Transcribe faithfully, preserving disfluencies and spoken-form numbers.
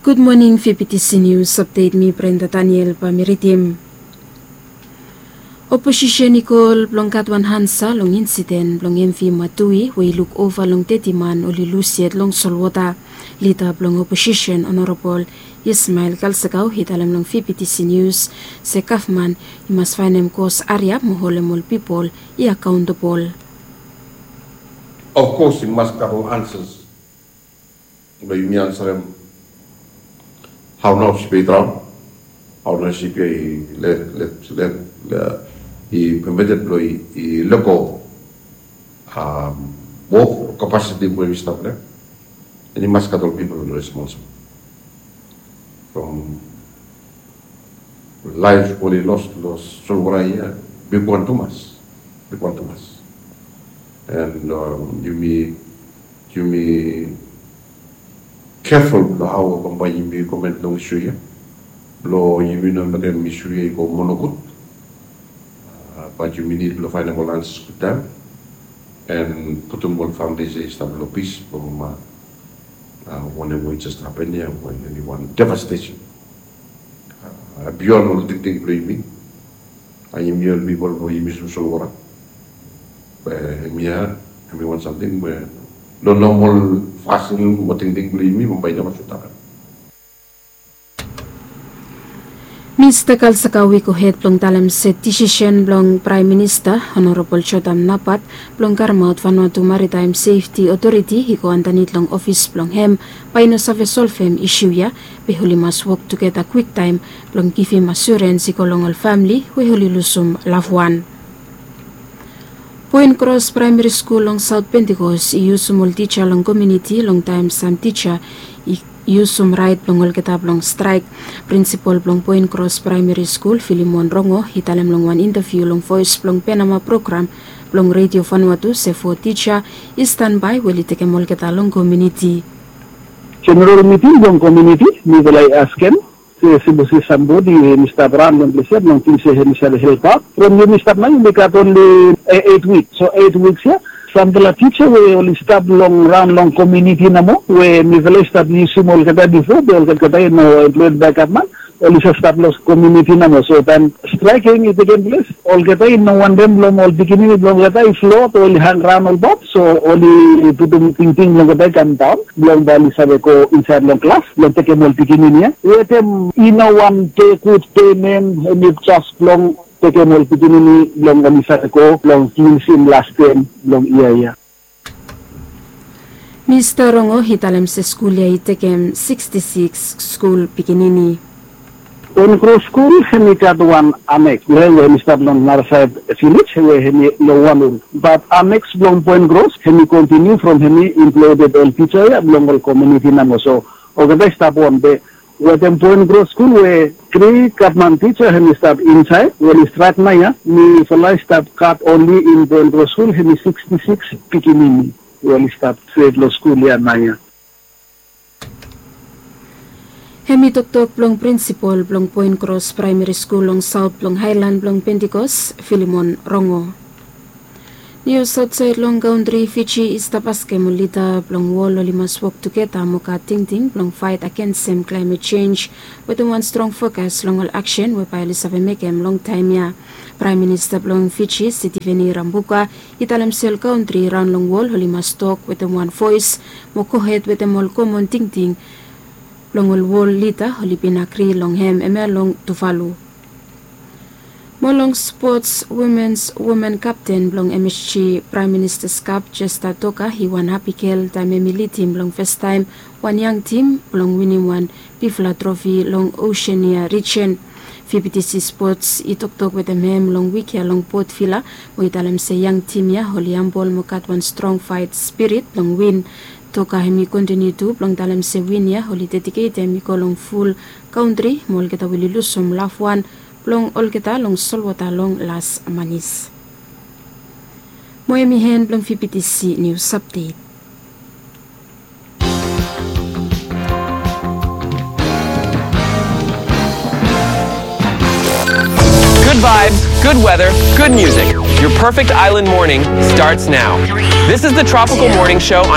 Gud moning, V B T C News Update, mi Brenda Daniel bae mi ridim. Oposisen i kol blong gat wan ansa long insiden blong M V Matui we i luk ova long teti man oli lus yet long solwota. Lida blong oposisen Honorabol Ismael Kalsakau i talem long V B T C News se gavman i mas faenem kos hariap mo holem ol pipol i akaontabol. Of course i mas gat ol ansas blong yumi ansarem hao nao sipia i draon, hao nao sipia i let, let, let, i permitted blong i lego wok o kapasiti we yumi stap long hem. And i mas gat ol pipol blong responsible from laef oli los long solwota ia, bigwan tumas, bigwan tumas. And yumi, yumi keful blong hao bambae yumi komen long isu ia blong yumi no mekem isu ia i go moa nogud. Bat yumi nid blong faenem ol ansas gudtaem and putum ol familis ia i stap long pis from wanem we i jes hapen ia we hemi wan devastation bion ol tingting blong yumi. Yumi ol pipol blong yumi solwota we hemia hemi wan samting we long nomol fasin mo tingting blong yumi bambae i neva sud hapen. Mista Kalsakau i gohed blong talem se disisen blong Praem Minista Honorabol Jotam Napat blong karemaot Vanuatu Maritaem Sefti Otoriti i go andanit long ofis blong hem bae i no save solvem isu ia, be oli mas wok tugeta kwiktaem blong givim asurens i go long ol famili we oli lusum lavwan. Poen Kros Praemeri Skul long Saot Pentikos i yusum ol tija long komuniti long taem sam tija i yusum raet blong olgeta blong straek. Prinsipol blong Poen Kros Praemeri Skul, Filimon Rongo, i talem long wan intaviu long Voes blong Penama program blong Redio Vanuatu se fo tija i stanbae we oli tekem olgeta long komuniti. Jeneral miting blong komuniti, mifala i askem se sapos i stap sambodi we hemi stap raon long ples ia blong ting se hemi save helpaot. From yumi stap nao yumi gat onli eit wik. So eit wiks ia samfala tija we oli stap long raon long komuniti nomo we mifala i stap yusum olgeta bifo be olgeta i no emploed bae gavman, oli save stap long komuniti nomo. So taem straeking i tekem ples, olgeta i no wantem blong ol pikinini blong olgeta i flot o oli hangraon ol bot. So oli putum tingting blong olgeta i kamdaon blong bae oli save go insaed long klas blong tekem ol pikinini ia wetem i no wan pe gud pemen, hemi jes blong tekem ol pikinini blong oli save go blong finisim las tem blong yia ia. Mista Rongo i talem se skul ia i tekem siksti siks skul pikinini. Poen Kros skul hemi gat wan aneks we hemi stap long narasaed vilej we hemi long wan rul. Bat aneks blong Poen Kros hemi kontiniu from hemi imploded ol tija ia blong ol komuniti nomo. So olgeta i stap on be wetem Poen Kros skul we tri gavman tija hemi stap insaed we oli straek nao ia, mifala i stap gat onli in Poen Kros skul hemi siksti siks pikinini we oli stap stret long skul ia nao ia. Hemi toktok blong prinsipol blong Poen Kros Praemeri Skul long saot blong haelan blong Pentikos, Filimon Rongo. Nius aotsaed long kantri. Fiji i stap askem ol lida blong wol oli mas wok tugeta mo gat tingting blong faet agensem klaemet jenj wetem wan strong fokas long ol aksen we bae oli save mekem long taem ia. Praem Minista blong Fiji, Sitiveni Rabuka, i talem se ol kantri raon long wol oli mas tok wetem wan voes mo gohed wetem ol komon tingting blong ol wol lida oli bin agri long hem hemia long Tuvalu. Mo long spots, womens women kapten blong M S G Praem Ministas Kap, Jesta Toka, i wan hapi gel taem hemi lidim blong fastaem wan yang tim blong winim wan bigfala trofi long Oseania rijen. V B T C Spots i toktok wetem hem long wik ia long Port Vila mo i talem se yang tim ia oli hambol mo gat wan strong faet spirit blong win. Toka hemi kontiniu tu blong talem se win ia oli dediketem i go long ful kantri mo olgeta we oli lusum lavwan blong olgeta long solwota long las manis. Mo hemi en blong V B T C Nius Apdet. Good vibes, good weather, good music. Your perfect island morning starts now. This is the Tropical Morning Show on